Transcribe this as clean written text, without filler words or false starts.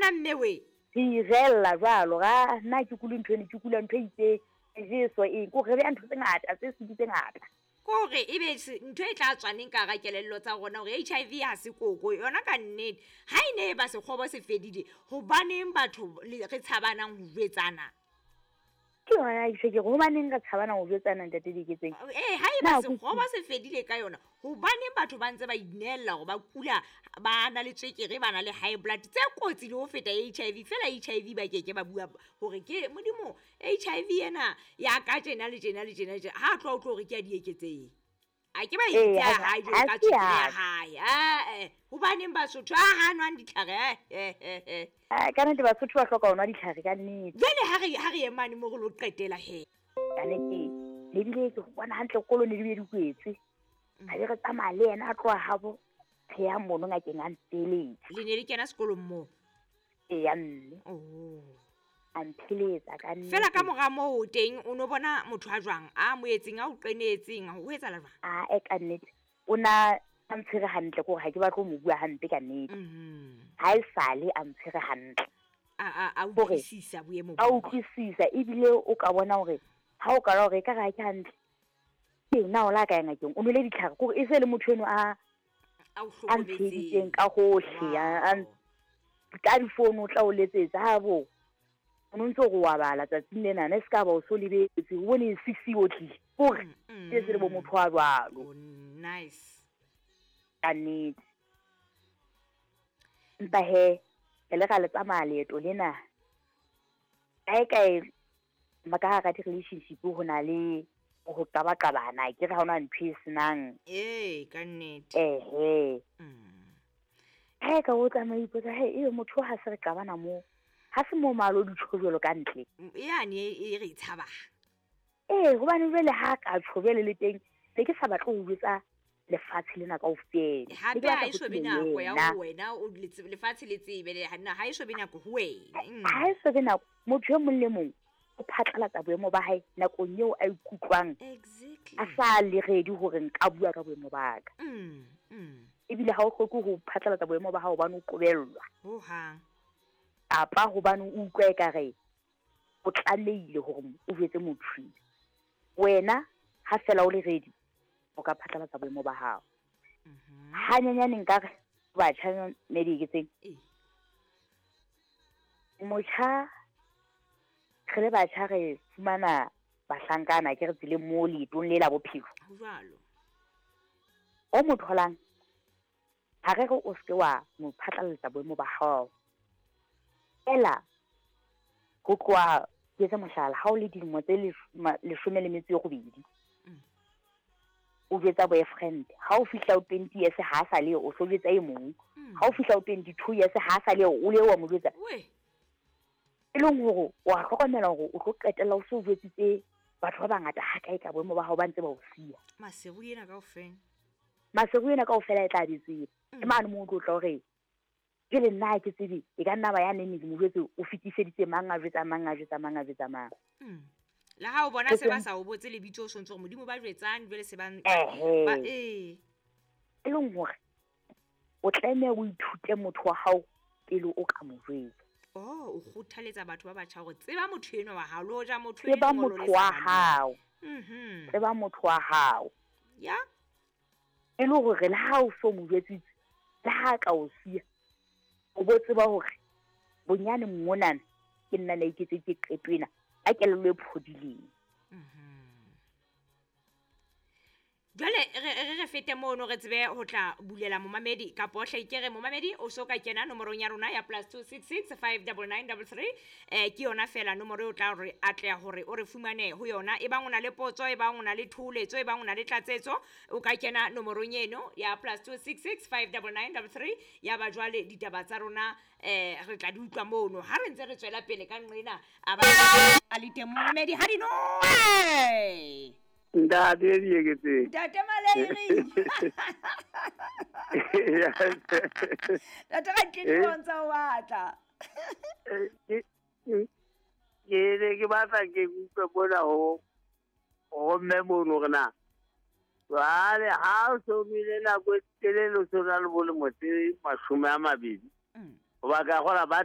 Tsebana mme we. Re irella jwalo ga nna ke kule ntho ene, ke kula ntho e itseng, jeso eng, ko re beya ntho tse ngata tse sedi tse ngata. Kore e be ntho e tla tswaneng ka hara kelello tsa rona hore HIV ha se koko yona ka nnete. Ha e ne e ba sekgobo se fedile, hobaneng batho re tshabanang ho jwetsana? Ke yona ke ke hobaneng re tshabana ho jwetsana, ntate Diketseng? Ee, ha e ba sekgobo se fedile ka yona, hobaneng batho ba ntse ba inehella hore ba kula, ba na le tswekere, ba na le high blood tse kotsi le ho feta HIV? Fela HIV ba keke ba bua hore ke modimo HIV ena ya ka tjena le tjena le tjena le tjena, ha tloha o tlo hore ke ya dieketseng. A ke ba itse ya hae jwalo ka tswekere ya hae. Ae, hobaneng Basotho a ha nwang ditlhare? Ka nnete Basotho ba hloka ho nwa ditlhare ka nnete. Jwale ha re emane mo re lo qetela he. Ka nnete ne bile ke bona hantle kolo ne di bile di kwetswe. Ha be re tsamaya le yena a tloha habo, re ya mono ngakeng a nfeletsa. Le ne le kena sekolong moo? Eya mme. Oh. A mpheletsa ka nnete. Fela ka mora moo teng o no bona motho a jwang, a moetseng, a o qenetseng, ho etsahala jwang? A e ka nnete o na a ntshwere hantle, ke hore ha ke batle ho mo bua hampe ka nnete. Ha e sale a ntshwere hantle. A utlwisisa boemo. A utlwisisa, ebile o ka bona hore ha o kala hore ekare ha ke hantle, ke na o la ka ya ngakeng, o nwele ditlhare, ke hore e se le motho eno a a ntsheditseng ka hohle, ka difounu o tla o letsetsa ha bo o no ntse go wa bala tsatsing lena, ne se ka ba o so lebetse, o bone 6 o tlile, kore ke se le bo motho wa jwalo. Nice. Ka nnete. Empa he re le ra le tsamaya leeto lena kae kae, ka hara di-relationship ho na le ho qabaqabana, ke re ha hona ntho e senang. Ee, ka nnete. Ehe. Ha e ka o tsamaya ipotsa, he ebe motho ha se re qabana moo, ha se mo malo ditjho jwalo ka ntle. Yane e re tshaba. Ee, hobane jwale ha ka tjho jwale le teng, ne ke sa batle ho jwetsa lefatshe lena kaofela. Hape ha e so be nako ya ho wena o lefatshe le tsebe le ha e so be nako ho wena. Ha e so be nako, motho e mong le mong o phatlalatsa boemo ba hae nakong eo a ikutlwang. Exactly. A sa le ready hore nka bua ka boemo ba ka. Ebile ha o hloke ho phatlalatsa boemo ba hao hobane o qobellwa. Ho hang. Kapa hobane o utlwa ekare o tlamehile hore o jwetse motho. Wena ha fela o le ready, o ka phatlalatsa boemo ba hao. Hanyenyane nka re batjha ne di eketseng. Motjha, re le batjha re fumana bahlankana ke re tseleng mo leetong le la bophelo. Ho jwalo. O mo tholang, ha re re o seke wa mo phatlalatsa boemo ba hao. Fela ho tloha, ke etse mohlala, ha o le dilemo tse 18, o jwetsa boyfriend, ha o fihla o 20 years ha sa le, o so jwetsa e mong. Ha o fihla o 22 years ha sa le, o le wa mo jwetsa. E leng hore wa hlokomela hore o tlo qetella o so jwetsitse batho ba bangata ha kae ka boemo ba hao ba ntse ba o siya. Maseru ena kaofela. Maseru ena kaofela e tla be tseba. Ke mane moo o tlo tla hore jwale nna ha ke tsebe, e ka nna ba ya neng ke mo jwetse, o fetiseditse mang, a jwetsa mang, a jwetsa mang, a jwetsa mang. Le ha o bona se ba sa o botse lebitso, o sontse hore modimo ba jwetsang, jwale se ba ba E leng hore o tlameha o ithute motho wa hao pele o ka mo jwetsa. Oh, o kgothaletsa batho ba batjha hore tseba motho enwa wa hao, le hoja motho Tseba enwa motho wa hao. Tseba motho wa hao. Ya. E le hore le ha o so mo jwetsitse, le ha ka o siya, o bo tseba hore bonyane monana ke nna le iketsetse qeto ena ka kelello e phodileng. Jwale re fete mono re tsebe ho tla bulela momamedi kapa hle ke re momamedi o so ka kena nomorong ya rona ya +266 599 33, ke yona fela nomoro eo tla re atleha hore o re fumane ho yona. E bang o na le potso, e bang o na le thoholetso, e bang o na le tlatsetso, o ka kena nomorong eno ya +266 599 33. Ya ba jwale ditaba tsa rona, re tla di utlwa mono ha re ntse re tswela pele ka nqena. A ba a le teng momamedi ha di noe. Ntate Dieketseng. Ntate Malairi. Ntate ga ke di bontsha o batla. Ke ne ke batla ke utlwe mona ho mme mono hore na jwale ha o so bile nako e telele o so na le bolemo tse 20. Hoba ka kgola ba